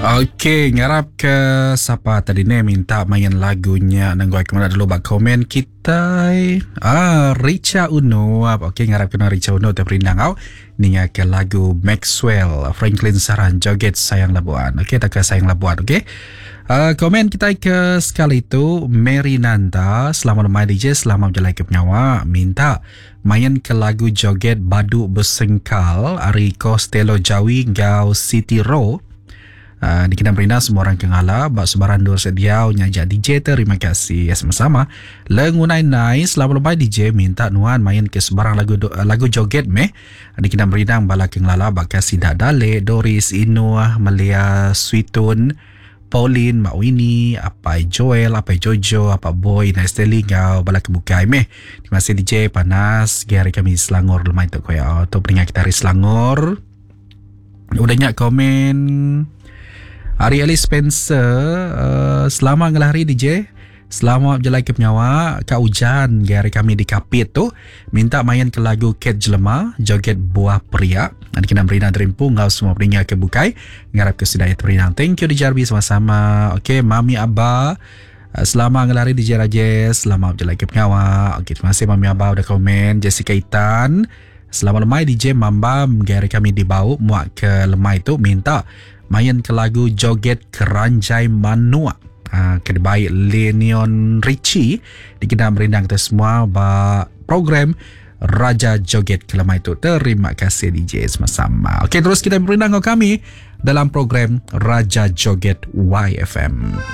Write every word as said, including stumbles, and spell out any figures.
Okey, ngarap ke sapa tadi ni minta main lagunya nenggoy kemana dulu bak komen kita. Ah, Richa Uno. Okey, ngarap kena Richa Uno terperindang au ninga ke lagu Maxwell Franklin Saran Joget Sayang Labuan. Okey, tak ke Sayang Labuan, okey. Uh, komen kita ke sekali tu Mary Nanta, selamat lemai D J, selamat berjalan ke pengawa, minta main ke lagu Joget Badu Besengkal ari Costello Jawi ngau City Ro. Uh, dikena merina semua orang kengala bak sebaran dua sediau nyajak D J. Terima kasih ya, sama-sama. Lengunai nai, selamat lemai D J, minta nuan main ke sebarang lagu lagu joget meh, dikena merindang bala kengalala bak Sidak Dale, Doris Inuah, Melia Sweetun, Pauline, Mak Winnie, Apai Joel, Apai Jojo, Apai Boy, Nesteli ngau bala kebukai meh. Terima kasih D J, panas gari kami Selangor lemai tu koya. Tu pendengar kita dari Selangor. Udah nyak komen Ari Ali Spencer, uh, selamat ngelahari D J. Selamat berjalan ke penyawa Kak Ujan gari kami di Kapit tu, minta main ke lagu Cat Jelema Joget Buah Periak. Nanti kena berinang terimpu ngau semua peringat ke bukai, ngarap ke sedaya terinang. Thank you D J Arbi, sama-sama. Okey, Mami Abba, uh, selamat ngelari D J Rajesh, selamat berjalan ke pengawa. Okey, terima kasih Mami Abba udah komen. Jessica Itan, selamat lemai D J Mambam gari kami di Bau muak ke lemai tu, minta main ke lagu Joget Keranjai Manua. Ha, baik Lenion Richie, dikena merindang kita semua ba program Raja Joget Kelemah itu. Terima kasih D J, sama-sama. Okey, terus kita merindang kami dalam program Raja Joget Y F M.